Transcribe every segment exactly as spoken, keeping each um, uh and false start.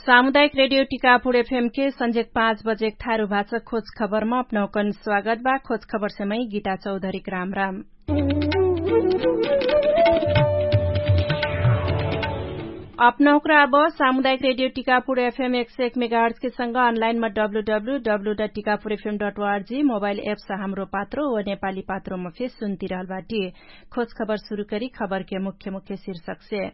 सामुदायिक रेडियो टिकापुर एफएमके संझेक पाँच बजेक थारु भाषा खोज खबरमा अपनौकन स्वागत बा। खोज खबरसे मै गीता चौधरीक राम राम। अपनौकरा अब सामुदायिक रेडियो टिकापुर एफएम एक सय एक मेगाहर्जके संग अनलाइनमा W W W dot Tikapur FM dot ORG mobile apps Hamro Patro व नेपाली पात्रोमा फेस सुन्तिरहल बाटी। खोज खबर सुरु करी खबरके मुख्य मुख्य शीर्षकसे।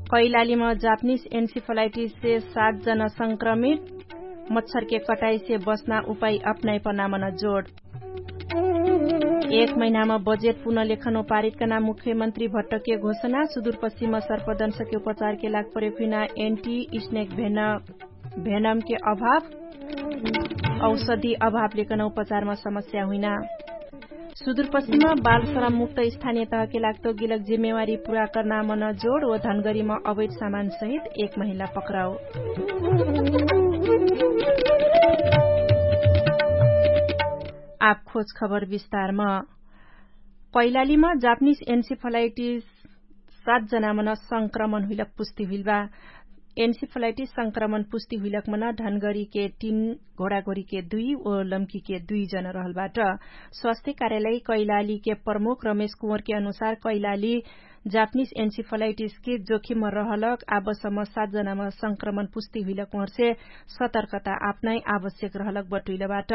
कैलालीमा जापनिस एन्सिफलाइटिससे सात जना संक्रमित। मच्छरके कटाइसे बस्ना उपाइ अपनाइपनामन जोड। एक महिनामा बजेट पुनलेखन पारितकना मुख्यमन्त्री भट्टके घोषणा। सुदुरपश्चिम सर्पदंशके उपचारके लाग प्रयोग हुइना एन्टी स्नेक भेनमके अभाव। औषधि अभावलेकन उपचारमा समस्या हुइना। सुदुरपश्चिम बालश्रम मुक्त स्थानीय तहके लाग्तो गिलक जिम्मेवारी पुरा कर्नामन जोड ओ धनगरीमा अवैध सामान सहित एक महिला पक्राउ। आप खोज खबर विस्तारमा। कैलालीमा जापनिस एन्सिफलाइटिस सात जनामन संक्रमण हुइलक पुष्टि हुइलबा। एन्सिफलाइटिस संक्रमण पुष्टि हुइलकमन ढनगरीके तीन, घोडाघोरीके दुई ओ लम्कीके दुई जन रहलबाट। स्वास्थ्य कार्यालय कैलालीके प्रमुख रमेश कुँवरके अनुसार कैलाली जापनिस एन्सिफलाइटिसके जोखिममा रहलक आबसम्म सात जनामा संक्रमण पुष्टि हुइलक उहर्से सतर्कता आपनाइ आवश्यक रहलक बटुइलबाट।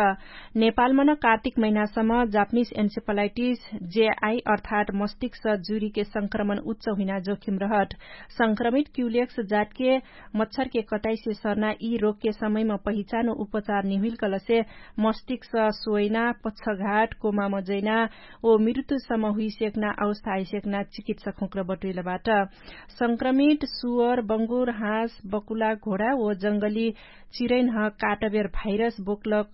नेपालमन कार्तिक महिनासम्म जापनिस एन्सिफलाइटिस जेआई अर्थात मस्तिष्क जुरीके संक्रमण उच्च हुइना जोखिम रहट। संक्रमित क्युलेक्स जातके मच्छरके कटाइसे सर्ना यि रोगके समयमा पहिचान उपचार निहुइलकलसे मस्तिष्क सोइना पच्छघाट कोमा मजैना ओ मृत्युसम्म हुइसेक्ना अवस्था आइसेक्ना चिकित्सक हुँक्र बटुइलबाट। संक्रमित सुअर बङ्गुर हाँस बकुला घोडा ओ जङ्गली चिरैन्ह काटबेर भाइरस बोक्लक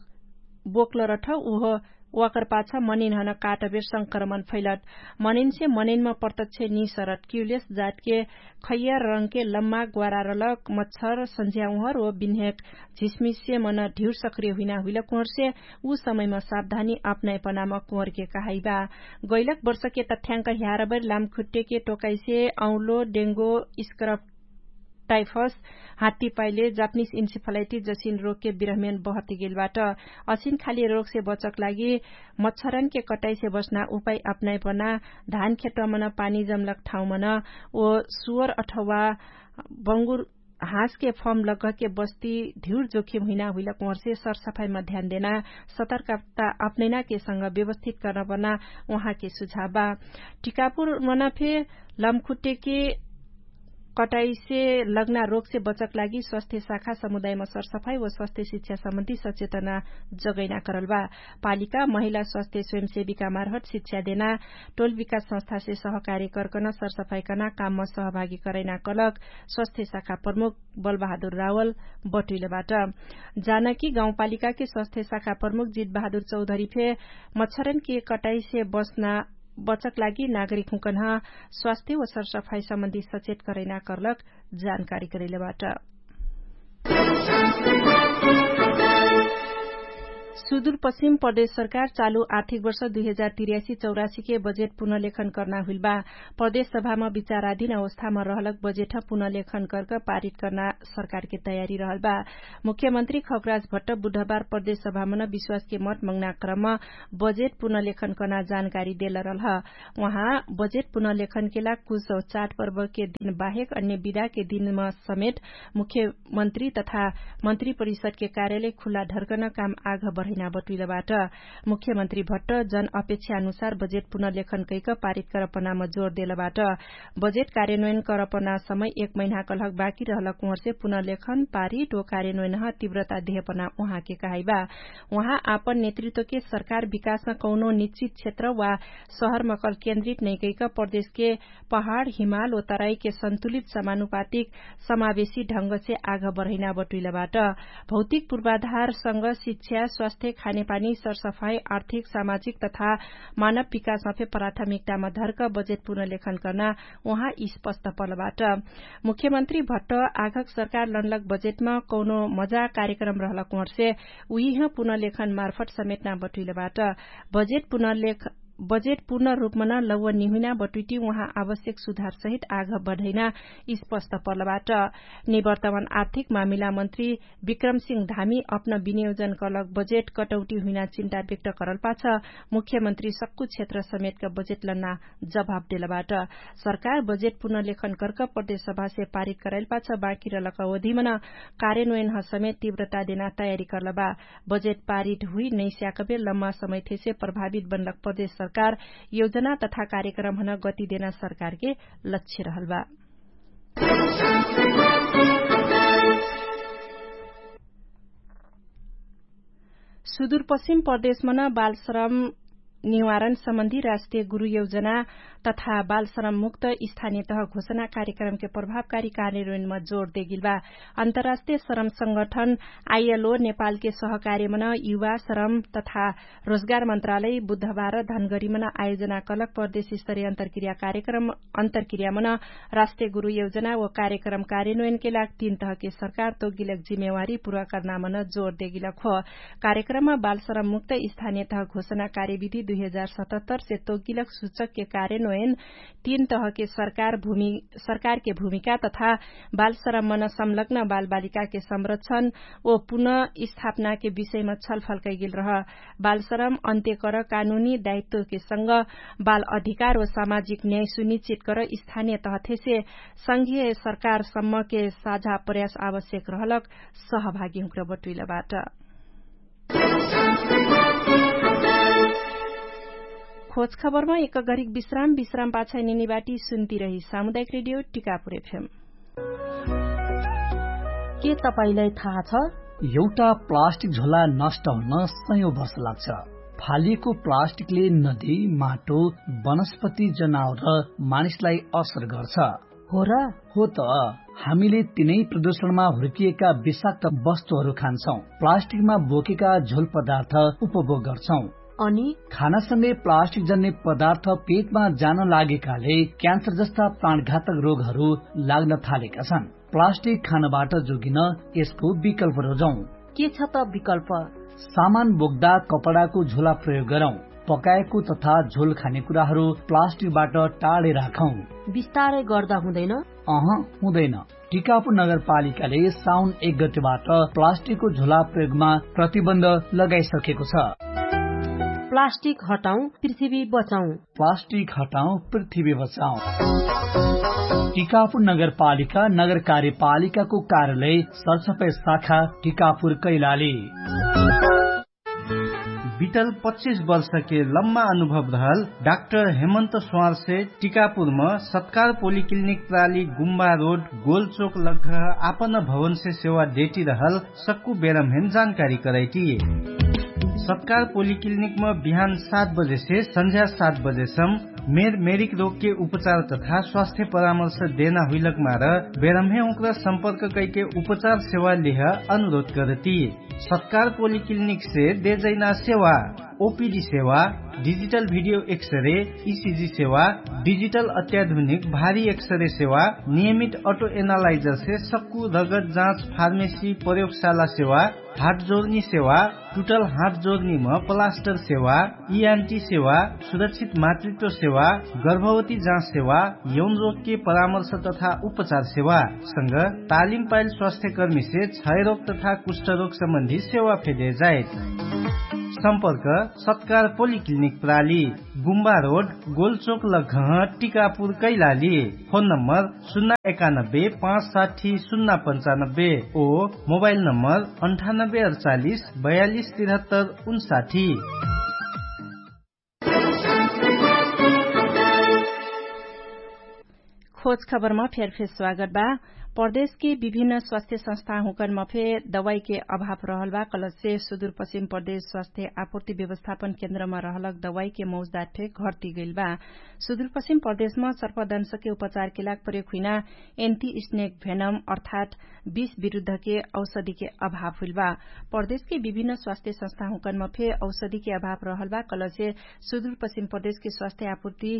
बोक्लरठ उह वाकरपाछ मनिन्हन काटबेर संक्रमण फैलट। मनिन्से मनिन्म प्रत्यक्ष निसरट क्युलेस जातके खैयर रङ्के लम्मा ग्वारारलक मच्छर सन्झ्याउहर ओ बिन्हेक झिसमिसे मन ढिउर सक्रिय हुइना हुइलक उहर्से उ समयमा सावधानी अपनाइपनाम कुहरके कहाइबा। गैलक वर्षके तथ्याङ्क ह्यारबैर लामखुट्टेके टोकाइसे औलो डेङ्गो स्क्रप टाइफस हात्ती पाइले जापनिस इन्सिफलाइटिस जसिन रोगके बिरहमेन बहतिगेलबाट। असिन खाली रोगसे बचक लागि मच्छरनके कटाइसे बस्ना उपाइ अपनाइपना धान खेतमन पानी जमलक ठाउँमन ओ सुअर अथवा बङ्गुर हाँसके फर्म लगके बस्ती धिउर जोखिम हुइना हुइलक उहर्से सरसफाइमा ध्यान देना सतर्कता अपनैनाके संग व्यवस्थित कर्नपर्ना उहाँके सुझाव बा। टिकापुर मनफे लमखुट्टेके कटाइसे लग्ना रोगसे बचक लागि स्वास्थ्य शाखा समुदायमा सरसफाइ व स्वास्थ्य शिक्षा सम्बन्धी सचेतना जगैना करल बा। पालिका महिला स्वास्थ्य स्वयंसेविका मार्फत शिक्षा देना टोल विकास संस्थासे सहकार्य कर्कन सरसफाइ कर्ना काममा सहभागी करैना कलक स्वास्थ्य शाखा प्रमुख बलबहादुर रावल बटुइलबाट। जानकी गाउँपालिकाके स्वास्थ्य शाखा प्रमुख जितबहादुर चौधरी फे मच्छरनके कटाइसे बस्ना बचक लागि नागरिक हुँकन्ह स्वास्थ्य व सरसफाइ सम्बन्धी सचेत करैना कर्लक जानकारी करैलबाट। सुदुरपश्चिम प्रदेश सरकार चालु आर्थिक वर्ष दुई हजार तिर्यासी चौरासीके बजेट पुनलेखन कर्ना हुइलबा। प्रदेश सभामा विचाराधीन अवस्थामा रहलक बजेट पुनलेखन कर्क पारित कर्ना सरकारके तयारी रहलबा। मुख्यमन्त्री खगराज भट्ट बुधबार प्रदेश सभामन विश्वासके मत मङ्ना क्रम बजेट पुनलेखन कर्ना जानकारी देलरलह। उहाँ बजेट पुनलेखनके लाग कुछ चाडपर्वके दिन बाहेक अन्य विधाके दिनमा समेत मुख्यमन्त्री तथा मन्त्री परिषदके कार्यालय खुल्ला ढर्कन काम आघ बढैना बटुइलबाट। मुख्यमन्त्री भट्ट जन अपेक्षा अनुसार बजेट पुनलेखन कैक पारित करपनाम जोर देलबाट। बजेट कार्यन्वयन करपना समय एक महिना कलहक बाकी रहलक उहर्से पुनलेखन पारित ओ कार्यन्वयनह तिव्रता देहपना उहाँके कहाइबा। उहाँ आपन नेतृत्वके सरकार विकासमा कौनो निश्चित क्षेत्र वा शहरमकल केन्द्रित नैकैक प्रदेशके पहाड हिमाल ओ तराईके सन्तुलित समानुपातिक समावेशी ढङ्गसे आघ बढैना बटुइलबाट। भौतिक पूर्वाधारसँग शिक्षा स्वास्थ्य खानेपानी सरसफाई आर्थिक सामाजिक तथा मानव विकासमा फे प्राथमिकतामा धर्क बजेट पुनलेखन कर्ना उहाँ स्पष्ट पलबाट। मुख्यमन्त्री भट्ट आघक सरकार लनलक बजेटमा कौनो मजा कार्यक्रम रहलक उहर्से उहिह पुनलेखन मार्फत समेटना बटुइलबाट। बजेट पुनलेख बजेट पूर्ण रूपमन लौवन निहुइना बटुइटी उहाँ आवश्यक सुधारसहित आघ बढैना स्पष्ट पर्लबाट। निवर्तमान आर्थिक मामिला मन्त्री विक्रम सिंह धामी अपन विनियोजन कलक बजेट कटौटी हुइना चिन्ता व्यक्त करलपाछ मुख्यमन्त्री सक्कु क्षेत्र समेतका बजेट लन्ना जवाफ देलबाट। सरकार बजेट पुनर्लेखन कर्क प्रदेश सभासे पारित करैलपाछ बाँकी रलक अवधिमन कार्यन्वयनह समेत तीव्रता देना तयारी करलबा। बजेट पारित हुइ नैस्याकबे लम्मा समयथेसे प्रभावित बनलक प्रदेश सरकार योजना तथा कार्यक्रमहन गति देना सरकारके लक्ष्य रहलबा। सुदुरपश्चिम प्रदेशमन बालश्रम निवारण सम्बन्धी राष्ट्रिय गुरु योजना तथा बालश्रम मुक्त स्थानियतह घोषणा कार्यक्रमके प्रभावकारी कार्यन्वयनमा जोड देगिलबा। अन्तर्राष्ट्रिय श्रम संगठन आइएलओ नेपालके सहकार्यमन युवा श्रम तथा रोजगार मन्त्रालय बुधबार धनगरीमन आयोजना कलक प्रदेश स्तरीय अन्तर्क्रिया कार्यक्रम अन्तर्क्रियामन राष्ट्रिय गुरु योजना व कार्यक्रम कार्यन्वयनके लाग तीन तहके सरकार तोगिलक जिम्मेवारी पुरा कर्नामन जोर देगिलक हो। कार्यक्रममा बालश्रम मुक्त स्थानियतह घोषणा कार्यविधि दुई हजार सतहत्तर से तोगिलक सुचकके कार्यन्वयन तीन तहके सरकार भूमि सरकारके भूमिका तथा बालश्रममन संलग्न बालबालिकाके संरक्षण ओ पुनः स्थापनाके विषयमा छलफल कैगेल रह। बालश्रम अन्त्य कर कानुनी दायित्वके संग बाल अधिकार ओ सामाजिक न्याय सुनिश्चित कर स्थानिय तहथेसे संघीय सरकारसम्मके साझा प्रयास आवश्यक रहलक सहभागीहुँक्र बटुइलबाट। खोजखबरमा एक गरिक विश्राम विश्राम पाछा निनिबाटी सुन्ती रही सामुदायिक रेडियो टिकापुर एफएम। के तपाईंलाई थाहा छ? एउटा प्लास्टिक झोला नष्ट हुन सयौं वर्ष लाग्छ। फालिएको प्लास्टिकले नदी, माटो, वनस्पति, जनावर र मानिसलाई असर गर्छ। हो र? हो त। हामीले तिनै प्रदूषणमा हुर्किएका विषाक्त वस्तुहरू खान्छौं, प्लास्टिकमा बोकेका झोल पदार्थ उपभोग गर्छौं। अनि खानासँगै प्लास्टिक जन्ने पदार्थ पेटमा जान लागेकाले क्यान्सर जस्ता प्राणघातक रोगहरू लाग्न थालेका छन्। प्लास्टिक खानबाट जोगिन यसको विकल्प रोजौं। के छ त विकल्प? सामान बोक्दा कपडाको झोला प्रयोग गरौं। पकाएको तथा झोल खाने कुराहरू प्लास्टिकबाट टाढे राखौं। बिस्तारै गर्दा हुँदैन? अह, हुँदैन। टिकापुर नगरपालिकाले साउन एक गतेबाट प्लास्टिकको झोला प्रयोगमा प्रतिबन्ध लगाइसकेको छ। प्लास्टिक हटाउँ, पृथ्वी बचाउँ। प्लास्टिक हटाउँ, पृथ्वी बचाउँ। टिकापुर नगरपालिका, नगर कार्यपालिकाको कार्यालय, सरसफाई शाखा, टिकापुर कैलाली। बितल पच्चिस वर्षके लम्मा अनुभव रहल डाक्टर हेमन्त स्वारसे टिकापुरम सत्कार पोलिक्लिनिक प्राली गुम्बा रोड गोलचोक लग्घ आपन भवनसे सेवा डेटी रहल सक्कु बेरमहेन जानकारी करैटी। सत्कार पोलिक्लिनिकम बिहान सात बजेसे सन्झ्या सात बजेसम मेर मेरिक रोगके उपचार तथा स्वास्थ्य परामर्श देना हुइलक मार बेरमहे उक्र सम्पर्क कैके उपचार सेवा लेह अनुरोध करती। सत्कार पोलिक्लिनिकसे देजैना सेवा ओपिडी सेवा, डिजिटल भिडियो एक्सरे, इसिजी सेवा, डिजिटल अत्याधुनिक भारी एक्सरे सेवा, नियमित अटो एनालाइजरसे सक्कु रगत जाँच फार्मेसी प्रयोगशाला सेवा, हाट जोर्नी सेवा, टुटल हाट जोर्नीम प्लास्टर सेवा, इआन्टी सेवा, सुरक्षित मातृत्व सेवा, गर्भवती जाँच सेवा, यौन रोगके परामर्श तथा उपचार सेवा संग तालिम पाइल स्वास्थ्यकर्मीसे क्षयरोग तथा कुष्ठरोग सम्बन्धी सेवा फेदे जाइत। सम्पर्क सत्कार पोलिक्लिनिक प्राली, गुम्बा रोड, गोलचोक लग्घह, टिकापुर कैलाली। फोन नम्बर सुन्ना एकानब्बे पाँच साठी सुन्ना पन्चानब्बे ओ मोबाइल नम्बर अन्ठानब्बे अडचालिस बयालिस तिरहत्तर उन्साठी। खोज खबरमा फेरफेर स्वागत बा। प्रदेशके विभिन्न स्वास्थ्य संस्थाहुँकनमा फे दवाईके अभाव रहल बा। कलसे सुदूरपश्चिम प्रदेश स्वास्थ्य आपूर्ति व्यवस्थापन केन्द्रमा रहलक दवाईके मौजदात फे घट्टी गइल बा। सुदूरपश्चिम प्रदेशमा सर्पदंशके उपचारके लाग प्रयोग हुइना एन्टी स्नेक भेनम अर्थात विष विरुद्धके औषधिके अभाव हुइल बा। प्रदेशके विभिन्न स्वास्थ्य संस्थाहुँकनमा फे औषधिके अभाव रहल बा। कलसे सुदूरपश्चिम प्रदेशके स्वास्थ्य आपूर्ति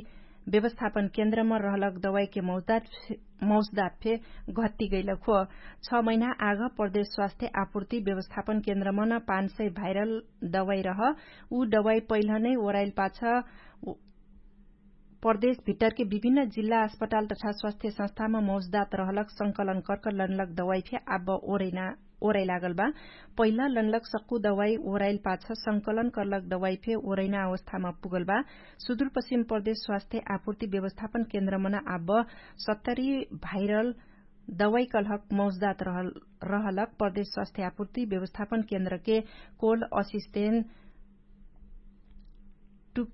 व्यवस्थापन केन्द्रमा रहलक दवाईके मौजदात फे घट्टी गैलक हो। छ महिना आग प्रदेश स्वास्थ्य आपूर्ति व्यवस्थापन केन्द्रमा न पाँच सय भाइरल दवाई रह उ दवाई पहिलनै ओराइल पाछ प्रदेश भित्तरके विभिन्न जिल्ला अस्पताल तथा स्वास्थ्य संस्थामा मौजदात रहलक संकलन कर्क लनलक दवाई फे आब ओरैना ओरैलागल बा। पहिला लनलक सक्कु दवाई ओरैल पाछ संकलन कर्लक दवाई फे ओरैना अवस्थामा पुगल बा। सुदुरपश्चिम प्रदेश स्वास्थ्य आपूर्ति व्यवस्थापन केन्द्रमा न आब सत्तरी भाइरल दवाई कलहक मौजदात रहलक प्रदेश स्वास्थ्य आपूर्ति व्यवस्थापन केन्द्रके कोल्ड असिस्टेन्ट टुक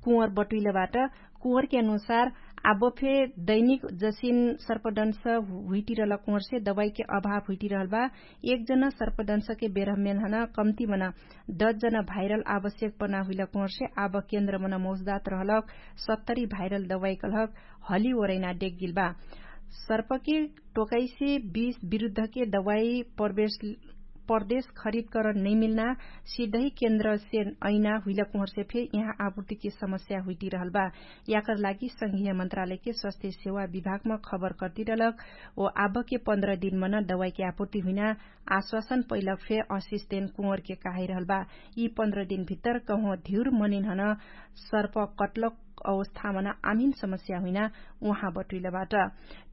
कुँवर बटुइलबाट। कुँवरके अनुसार आब फे दैनिक जसिन सर्पदंश हुइटिरहलक कुँवरसे दवाईके अभाव हुइटिरहल बा। एक जना सर्पदंशके बेरहमेन हन कम्ती मना दस जना भाइरल आवश्यक पना हुइलक कुँवरसे आब केन्द्र मना मौजदात रहलक सत्तरी भाइरल दवाई कलहक हली ओरैना डेगगिल बा। सर्पके टोकाइसे बीस विरुद्धके दवाई प्रवेश प्रदेश खरिद करन नैमिल्ना सिधै केन्द्रसे ऐना हुइलक उहरसे फे यहाँ आपूर्तिके समस्या हुइटिरहल बा। याकर लागि संघीय मन्त्रालयके स्वास्थ्य सेवा विभागमा खबर कर्तिरहलक ओ आबके पन्ध्र दिनमन दवाईके आपूर्ति हुइना आश्वासन पैलक फे असिस्टेन्ट कुँवरके कहाइरहल बा। यी पन्ध्र दिनभित्तर कहुँ धिउर मनिन हन सर्प कटलक अवस्थामन आमिन समस्या हुइना उहाँ बटुइलबाट।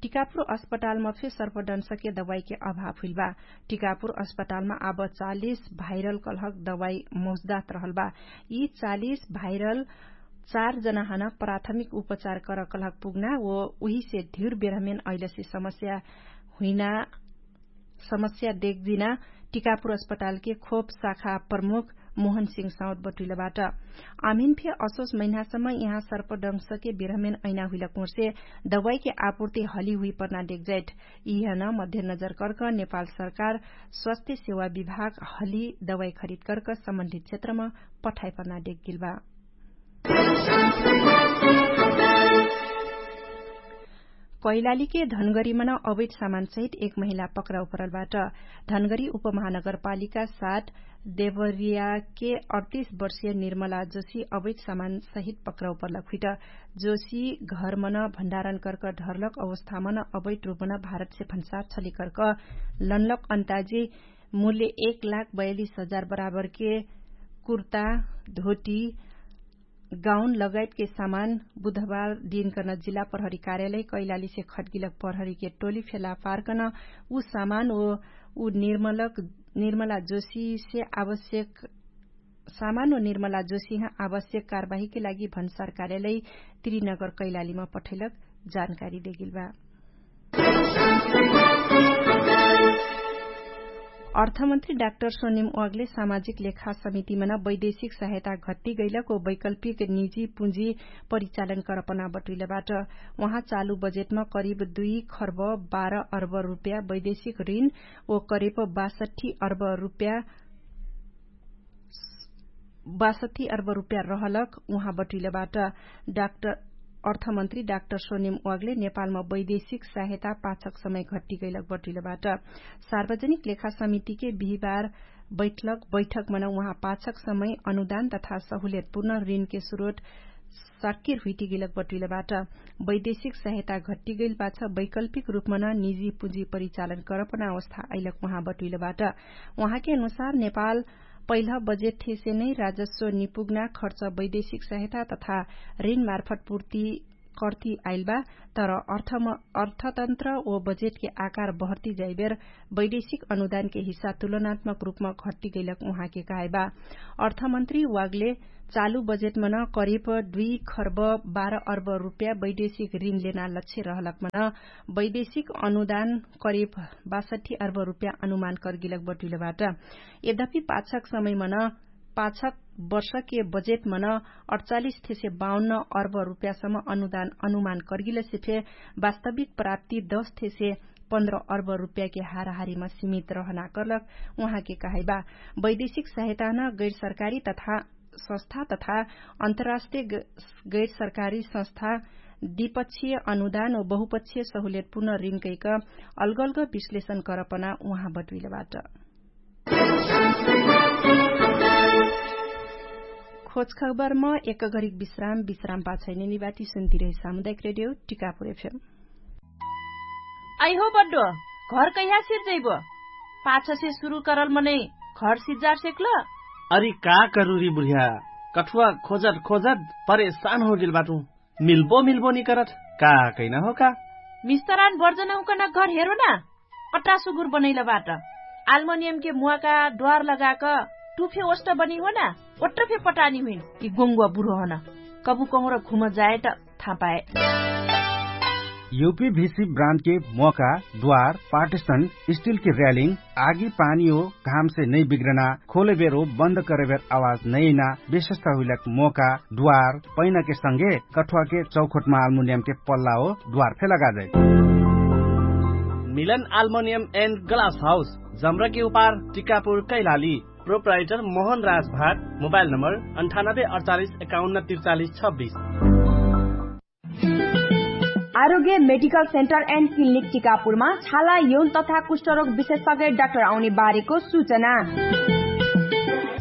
टिकापुर अस्पतालमा फे सर्पदंशके दवाईके अभाव हुइलबा। टिकापुर अस्पतालमा आब चालिस भाइरल कलहक दवाई मौजदात रहलबा। यी चालिस भाइरल चार जनाहन प्राथमिक उपचार कर कलहक पुग्ना ओ उहिसे धिउर बेरहमेन अइलसे समस्या हुइना समस्या देखजिना टिकापुर अस्पतालके खोप शाखा प्रमुख मोहन सिंह साउद बटुइलबाट। आमिन फे असोस महिनासम्म यहाँ सर्पदंशके बेरहमेन ऐना हुइलक उहरसे दवाईके आपूर्ति हली हुइपर्ना देखजाइट। यिहन मध्यनजर कर्क नेपाल सरकार स्वास्थ्य सेवा विभाग हली दवाई खरिद कर्क सम्बन्धित क्षेत्रमा पठाइपर्ना देखगिलबा। कैलालीके धनगरीमन अवैध सामानसहित एक महिला पक्राउ परलबाट। धनगरी उपमहानगरपालिका सात देवरियाके अडतीस वर्षीय निर्मला जोशी अवैध सामानसहित पक्राउ परलक हुइट। जोशी घरमन भण्डारण कर्क ढर्लक अवस्थामन अवैध रूपमन भारतसे भन्सार छलिकर्क लनलक अन्ताजी मूल्य एक लाख बयालिस हजार बराबरके कुर्ता धोटी गाउन लगायतके सामान बुधबार दिनकन जिल्ला प्रहरी कार्यालय कैलालीसे खटगिलक प्रहरीके टोली फेला पार्कन उ सामान ओ उ निर्मलक निर्मला जोशीसे आवश्यक सामान ओ निर्मला जोशीह आवश्यक कारवाहीके लागि भन्सार कार्यालय त्रिनगर कैलालीमा पठैलक जानकारी देगिलबा। अर्थमन्त्री डाक्टर सोनिम वागले सामाजिक लेखा समितिमन वैदेशिक सहायता घट्टी गैलक ओ वैकल्पिक निजी पुँजी परिचालन करपना बटुइलबाट। उहाँ चालु बजेटमा करिब दुई खर्ब बाह्र अर्ब रुप्या वैदेशिक ऋण ओ करिब बासठी अर्ब रुप्या बासठी अर्ब रुप्या रहलक उहाँ बटुइलबाट। डाक्टर अर्थमन्त्री डाक्टर सोनिम वागले नेपालमा वैदेशिक सहायता पाछक समय घट्टी गैलक बटुइलबाट। सार्वजनिक लेखा समितिके बिहिबार बैठलक बैठकमन उहाँ पाछक समय अनुदान तथा सहुलियतपूर्ण ऋणके स्रोत साकिर हुइटिगैलक बटुइलबाट। वैदेशिक सहायता घट्टी गैल पाछ वैकल्पिक रूपमन निजी पुँजी परिचालन करपना अवस्था अइलक उहाँ बटुइलबाट। उहाँके अनुसार नेपाल पहिला बजेट ठेसे नै राजस्व निपुग्ना खर्च वैदेशिक सहायता तथा ऋणमार्फत पूर्ति कर्ति आइलबा। तर अर्थतन्त्र ओ बजेटके आकार बहर्ति जाइबेर वैदेशिक अनुदानके हिस्सा तुलनात्मक रूपमा घट्टि गैलक उहाँके कहाइबा। अर्थमन्त्री वागले चालु बजेटमन करिब दुई खर्ब बाह्र अर्ब रुप्या वैदेशिक ऋण लेना लक्ष्य रहलकमन वैदेशिक अनुदान करिब बासठी अर्ब रुप्या अनुमान कर्गिलक बटुइलबाट। यद्यपि पाछक समयमन पाछक वर्षके बजेटमन अठचालिस थेसे बाउन्न अर्ब रुप्यासम्म अनुदान अनुमान कर्गिलसे फे वास्तविक प्राप्ति दस थेसे पन्ध्र अर्ब रुप्याके हाराहारीमा सीमित रहना कर्लक उहाँके कहाइबा। वैदेशिक सहायतान गैरसरकारी तथा संस्था तथा अन्तर्राष्ट्रिय गैरसरकारी संस्था द्विपक्षीय अनुदान ओ बहुपक्षीय सहुलियतपूर्ण ऋणकैक अलगअलग विश्लेषण करपना उहाँ बटुइलबाट। खोज खबरम एक घरिक विश्राम विश्राम पाछैने निबाटी सुन्तिरहे सामुदायिक रेडियो टिकापुर एफएम। अइहो बड्डो, घर कैहा सिर्जैबो? पाछसे सुरु करल मनै घर सिज्जार सेक्ल? अरि का करुरी बुढिया, कठुवा खोजत खोजत परेशान होगेल बाटु। मिल्बो मिल्बो निकरत, का कैना हो का? मिस्तरान बर्जन हुकन घर हेरो ना। अट्टा सुगुर बनैल बाट। आल्मोनियमके मुवाका द्वार लगाक टुफे ओष्ट बनी हो ना? ओट्ट फे पटानी हुइन। यि गोङ्गुवा बुढो हन। कबु कहुँर घुम जाए त थापाए। युपी भिसी ब्रान्डके मोका द्वार पार्टिसन स्टिलके र्यालिङ आगी पानी हो घामसे नै बिग्रना खोलेबेर हो बन्द करेबेर आवाज नैना विशेषता हुइलक मोका द्वार पैनाके संगे कठुवाके चौखोटमा आल्मुनियमके पल्ला हो द्वार फे लगाजै। मिलन आल्मुनियम एन्ड ग्लास हाउस जम्रकी उपार टिकापुर कैलाली। प्रोप्राइटर मोहन राज भाट। मोबाइल नम्बर अन्ठानब्बे अडचालिस एकाउन्न त्रिचालिस छब्बिस। आरोग्य मेडिकल सेन्टर एन्ड क्लिनिक टिकापुरमा छाला यौन तथा कुष्ठरोग विशेषज्ञ डाक्टर आउने बारेको सूचना।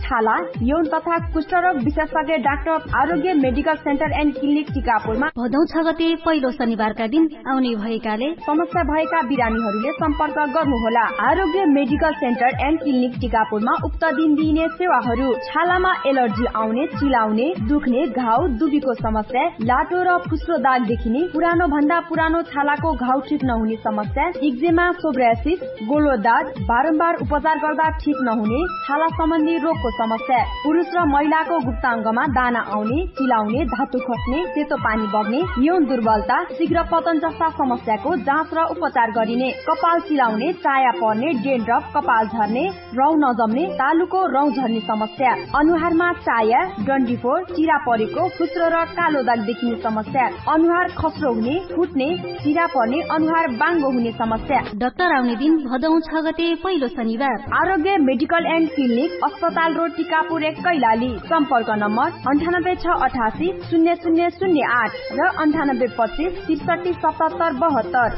छाला यौन तथा कुष्ठरोग विशेषज्ञ डाक्टर आरोग्य मेडिकल सेन्टर एन्ड क्लिनिक टिकापुरमा भदौ छ गते पहिलो शनिबारका दिन आउने भएकाले समस्या भएका बिरामीहरूले सम्पर्क गर्नुहोला। आरोग्य मेडिकल सेन्टर एन्ड क्लिनिक टिकापुरमा उक्त दिन दिइने सेवाहरू छालामा एलर्जी आउने, चिलाउने, दुख्ने, घाउ दुबीको समस्या, लाटो र फुस्रो दाग देखिने, पुरानो भन्दा पुरानो छालाको घाउ ठिक नहुने समस्या, इक्जेमा, सोब्रासिस, गोलो दाग, बारम्बार उपचार गर्दा ठिक नहुने छाला सम्बन्धी रोगको समस्या, पुरुष र महिलाको गुप्ताङ्गमा दाना आउने, चिलाउने, धातु खस्ने, सेतो पानी बग्ने, यौन दुर्बलता, शीघ्र पतन जस्ता समस्याको जाँच र उपचार गरिने, कपाल चिलाउने, चाया पर्ने, डेन्ड्रफ, कपाल झर्ने, रौँ नजम्ने, तालुको रौँ झर्ने समस्या, अनुहारमा चाया, डन्डीफोर, चिरा परेको, फुस्रो र कालो दाग देखिने समस्या, अनुहार खस्रो हुने, फुट्ने, चिरा पर्ने, अनुहार बाङ्गो हुने समस्या। डाक्टर आउने दिन भदौ छ गते पहिलो शनिबार। आरोग्य मेडिकल एन्ड क्लिनिक, अस्पताल रोड, टिकापुर एक, कैलाली। सम्पर्क नम्बर अन्ठानब्बे छ अठासी शून्य शून्य शून्य आठ र अन्ठानब्बे पच्चिस त्रिसठी सतहत्तर बहत्तर।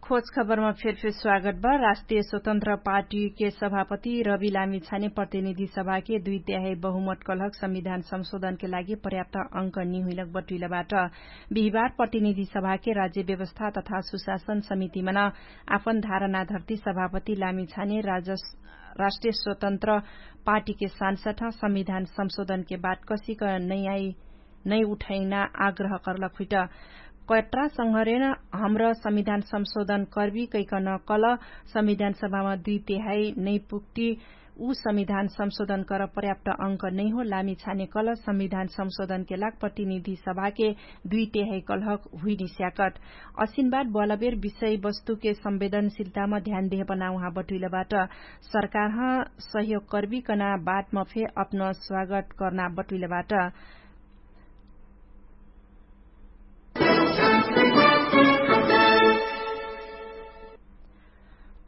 खोज खबरमा फेरफेर स्वागत बा। राष्ट्रिय स्वतन्त्र पार्टीके सभापति रवि लामिछाने प्रतिनिधि सभाके दुई त्याहै बहुमत कलहक संविधान संशोधनके लागि पर्याप्त अंक निहुइलक बटुइलबाट। बिहिबार प्रतिनिधि सभाके राज्य व्यवस्था तथा सुशासन समितिमन आपन धारणाधर्ती सभापति लामिछाने राष्ट्रिय स्वतन्त्र पार्टीके सांसद संविधान संशोधनके बात कसिक नैआइ नै उठैना आग्रह करलक हुइट। कट्रा संघरेन हमर संविधान संशोधन कर्बी कैकन कल संविधान सभामा दुई तेहाई नै पुग्ती उ संविधान संशोधन कर पर्याप्त अंक नै हो। लामी छाने कल संविधान संशोधनके लाग प्रतिनिधि सभाके दुई तेहाई कलहक हुइनिस्याकट। असिनबाद बलबेर विषयवस्तुके संवेदनशिलतामा ध्यान देहपना उहाँ बटुइलबाट सरकारह सहयोग कर्बी कना बातमा फे अपन स्वागत कर्ना बटुइलबाट।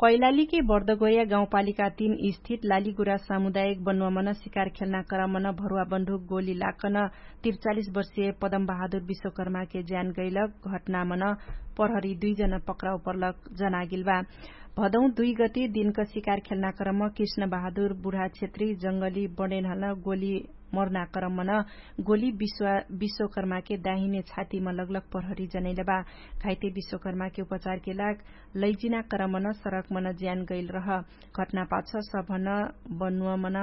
कैलालीके बर्दगोर्या गाउँपालिका तीन स्थित लालीगुरा सामुदायिक बन्वामन सिकार खेल्ना क्रमन भरुवा बन्धुक गोली लाक्कन त्रिचालिस वर्षिय पदम बहादुर विश्वकर्माके ज्यान गैलक घटनामन प्रहरी दुइजन पक्राउ पर्लक जनागिल बा। भदौ दुइ गति दिनक सिकार खेल्ना क्रम कृष्ण बहादुर बुढा क्षेत्री जंगली बडेनहल गोली मर्ना क्रमन गोली विश्वकर्माके दाहिने छातीम लगलक प्रहरी जनैलबा। घाइते विश्वकर्माके उपचारके लाग लैजिना क्रमन सरकमन ज्यान गैल रह। घटनापाछ सभन बनुवमन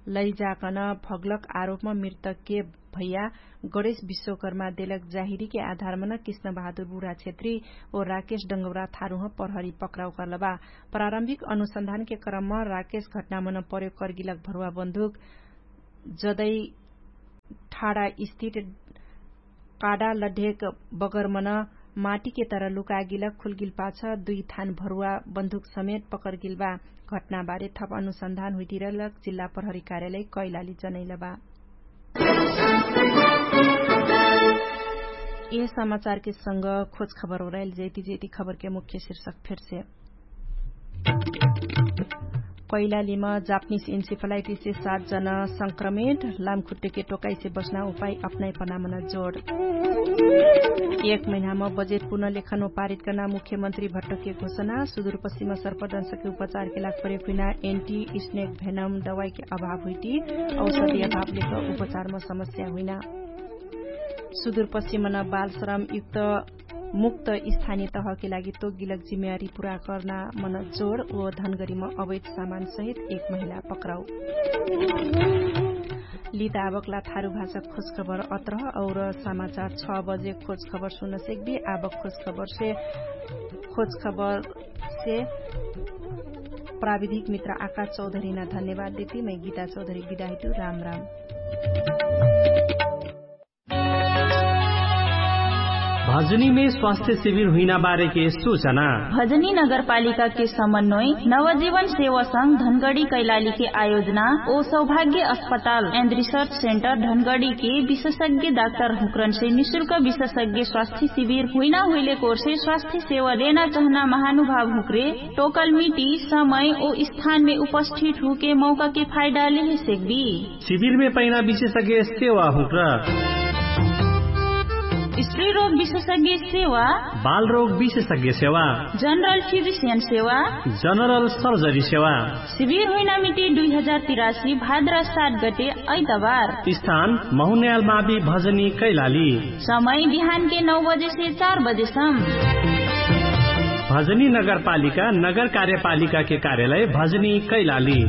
लैजाकन भगलक आरोपम मृतकके भैया गणेश विश्वकर्मा देलक जाहिरीके आधारमन कृष्ण बहादुर बुढा क्षेत्री ओ राकेश डंगौरा थारुह प्रहरी पक्राउ कर्लबा। प्रारम्भिक अनुसन्धानके क्रमम राकेश घटनामन प्रयोग कर्गिलक भरुवा बन्दुक जदै ठाडा स्थित काडा लढेक बगरमन माटीके तर लुकागिलक खुल्गिलपाछ दुइ थान भरुवा बन्दुक समेत पकर्गिलबा। घटनाबारे थप अनुसन्धान हुइतिरलक जिल्ला प्रहरी कार्यालय कैलाली जनैलबा। यह समाचारके संग खोज खबर ओराइल जैति जैति खबरके मुख्य शिर्षक फेरसे। कैलालीमा जापनिस इन्सिफलाइटिससे सात जना संक्रमित। लामखुट्टेके टोकाइसे बस्ना उपाइ अपनाइ पनामन जोड। एक महिनामा बजेट पुनलेखन पारित कर्ना मुख्यमन्त्री भट्टके घोषणा। सुदुरपश्चिम सर्पदंशके उपचारके लाग प्रयोग हुइना एन्टी स्नेक भेनम दवाइके अभाव हुइटी औषधी अभाव लेख उपचारमा समस्या हुइना। सुदुरपश्चिमन बालश्रम युक्त मुक्त स्थानीय तहके लागि तोगिलक जिम्मेवारी पुरा कर्ना मन जोड ओ धनगरीमा अवैध सामान सहित एक महिला पक्राउ। लित आवकला थारु भाषा खोजखबर अत्रह और समाचार छ बजे खोजखबर सुन सेक्बी। आवक खोजखबर से खोजखबर से प्राविधिक मित्र आकाश चौधरीना धन्यवाद देती मै गीता चौधरी बिदाहितु। राम राम। भजनीमे स्वास्थ्य शिविर हुइना बारेके सूचना। भजनी नगरपालिकाके समन्वय नवजीवन सेवासँग धनगडी कैलालीके आयोजना ओ सौभाग्य अस्पताल एन्ड रिसर्च सेन्टर धनगडीके विशेषज्ञ डाक्टर हुक्रनसे निशुल्क विशेषज्ञ स्वास्थ्य शिविर हुइना हुइले कोर्से स्वास्थ्य सेवा देना चहना महानुभाव हुक्रे टोकल मिटी समय ओ स्थानमे उपस्थित हुके मौकाके फाइडाले हे सेक्बी। शिविरमे पैना विशेषज्ञ सेवा हुक्र स्त्री रोग विशेषज्ञ सेवा बाल रोग विशेषज्ञ सेवा जनरल फिजिसियन सेवा जनरल सर्जरी सेवा। शिविर हुइना मिटी दुई हजार तिरासी भाद्रा सात गटे ऐतबार। स्थान महुन्याल मावि भजनी कैलाली। समय बिहानके नौ बजेसे चार बजेसम। भजनी नगरपालिका नगर कार्यपालिकाके कार्यालय भजनी कैलाली।